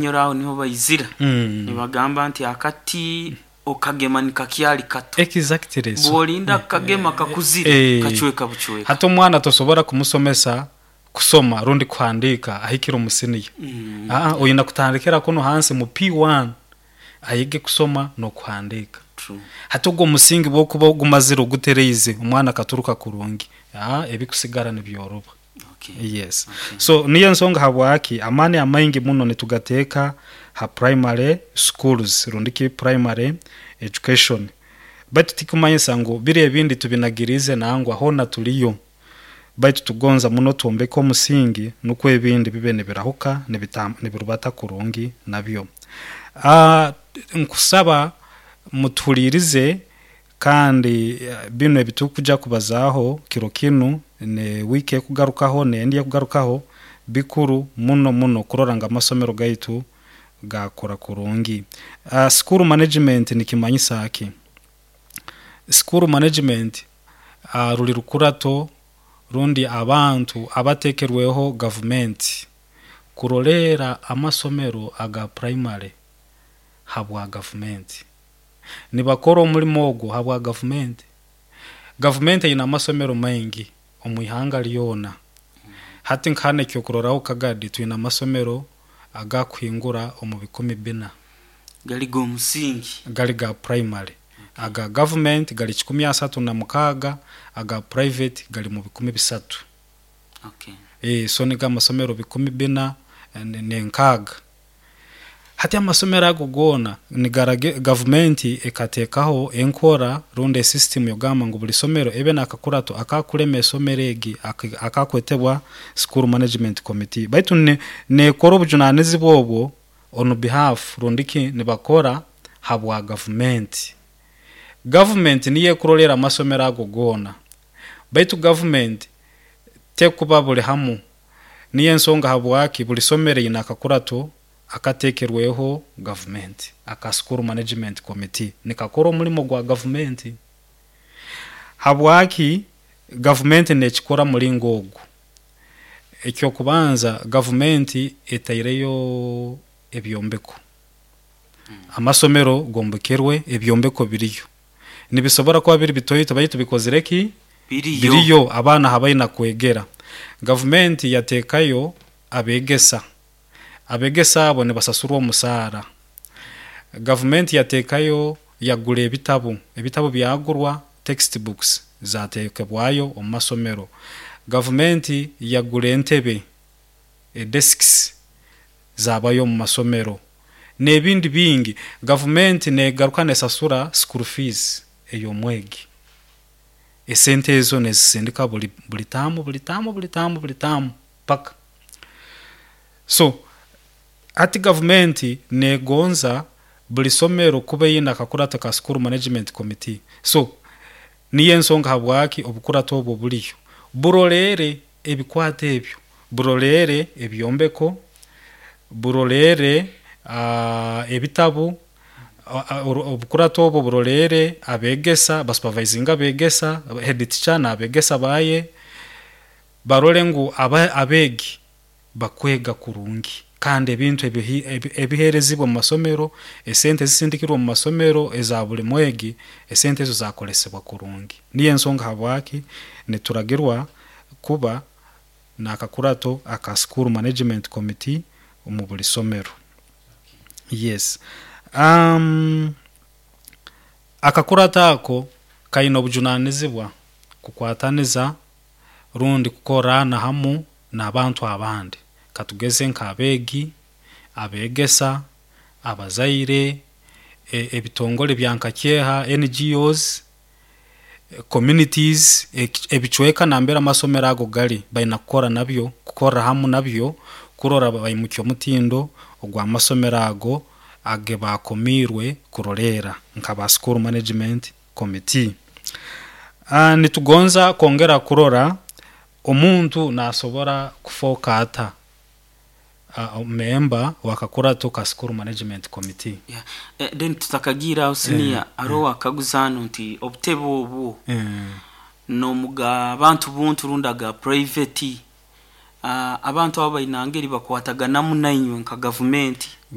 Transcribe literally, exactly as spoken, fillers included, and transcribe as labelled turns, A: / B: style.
A: Nyoro aho niho baizira
B: Mm.
A: nibagamba nti akati okagema nikakyali kato,
B: Exactly. So,
A: bwolinda kagema kakuzire,
B: Eh.
A: kacweka bucweka.
B: Hati omwana tosobora kumusomesa kusoma rundi kuhandiika ahikire omu siniya.
A: Mm.
B: Aa, oyina kutandikira kuno hansi mu P one ayige kusoma n'okuhandiika.
A: True.
B: Hati ogwo omusingi bwokuba gumazire ogutereize, omwana akaturuka kurungi, aa, ebikusigara nibyoroba.
A: Okay.
B: Yes.
A: Okay.
B: So niyo ensonga habwaki amaani amaingi muno nitugateeka ha primary schools rundiki primary education, baitu tikumanyisa ngu biri ebindi tubinagirize, nangwa hona tuliyo, baitu tugonza muno twombeke omusingi nukwo ebindi bibe nibirahuka, nibitam- nibirubata kurungi nabyo. uh, nkusaba mutuhulirize kandi eh, bino ebitukuja kubazaaho kiro kinu ne wiiki ekugarukaho nendi ekugarukaho bikuru muno muno kurora nga amasomero gaitu gakora kurungi. uh, school management nikimanyisa ki? School management uh, ruli rukurato rundi abantu abatekerweho gavumenti kurolera amasomero aga primary habwa gavumenti. Nibakora omulimo ogwo habwa gavumenti. Gavumenti eyina amasomero maingi omu ihanga lyona. Hati nkahana ekyokuroraho, Kagadi twine amasomero agakuhingura omu bikumi bina.
A: Gali g'omusingi?
B: Gali ga primary. Aga government gali kikumi asatu na mukaaga, aga private gali mu bikumi bisatu.
A: Okay.
B: e, so nigo amasomero bikumi bina eh, ne- nenkaaga. Hati amasomero ago goona nigarage gavumenti ekateekaho enkora rundi esystem yogamba ngu buli somero ebe nakakurato akakulema esomero egi aki- akakwetebwa school management committee, baitu ne- nekora obujunanizibwa obwo on behalf rundiki nibakora habwa gavumenti. Gavumenti niyo ekurolera amasomero ago goona, baitu gavumenti tekuba buli hamu. Niyo ensonga habwaki buli somero ine akakurato akatekerweho gavumenti aka school management committee, nikakora omulimo gwa gavumenti. Habwaki gavumenti nekikora mulingo ogu? Ekyokubanza, gavumenti etaireyo ebyombeko, amasomero gombekerwe, ebyombeko biriyo, nibisobora kuba biri bitoito baitu bikozire ki?
A: Biriyo.
B: Biriyo, abaana habaina kwegera. Gavumenti yateekayo abegesa, abegesa abo nibasasurwa omusaara. Gavumenti yateekayo, yagura ebitabu, ebitabu byagurwa, textbooks zatekebwayo omu masomero. Gavumenti yagura entebe, desks zabayo omu masomero n'ebindi bingi. Gavumenti negaruka nesasura school fees ey'omwegi. Esente ezo nezisindika buli, buli taamu, buli taamu, buli taamu, buli taamu paka. So hati gavumenti negonza buli somero kuba eyine akakurato ka school management committee. So niyo ensonga habwaki obukurato obwo buliyo, burolere ebikwato ebyo, burolere ebyombeko, burolere uh, ebitabu, obukurato obwo burolere abegesa, basupervisinga abegesa, head teacher n'abegesa baye, barole ngu aba- abeegi bakwega kurungi kandi ebintu ebihi- ebi- ebiherezibwa mu masomero, esente zisindikirwe mu masomero eza buli mwegi, esente ezo zakolesebwa kurungi. Niyo ensonga habwaki nituragirwa kuba nakakurato aka school management committee omu buli somero. Yes. um, akakurato ako kaine obujunanizibwa kukwataniza rundi kukorana hamu n'abantu abandi, katugeze nk'abeegi, abegesa, abazaire, e- ebitongole bya nkakyeha, N G Os, communities, eki- ebicweka nambere amasomero ago gali, baina kukora nabyo, kukorra hamu nabyo kurora baimukya omutindo ogw'amasomero ago age bakomiirwe kuroleera nka ba school management committee. uh, nitugonza kwongera kurora omuntu nasobora kufooka ata uh, member wakakurato ka school management committee.
A: Yeah. Eh, then tutakagira aho, senior, aroho akaguza hano nti obutebe obwo
B: eh,
A: nomuga abantu buntu rundi aga private? Ah, abantu abo bainangeri bakwataganamu nainywe nka gavumenti.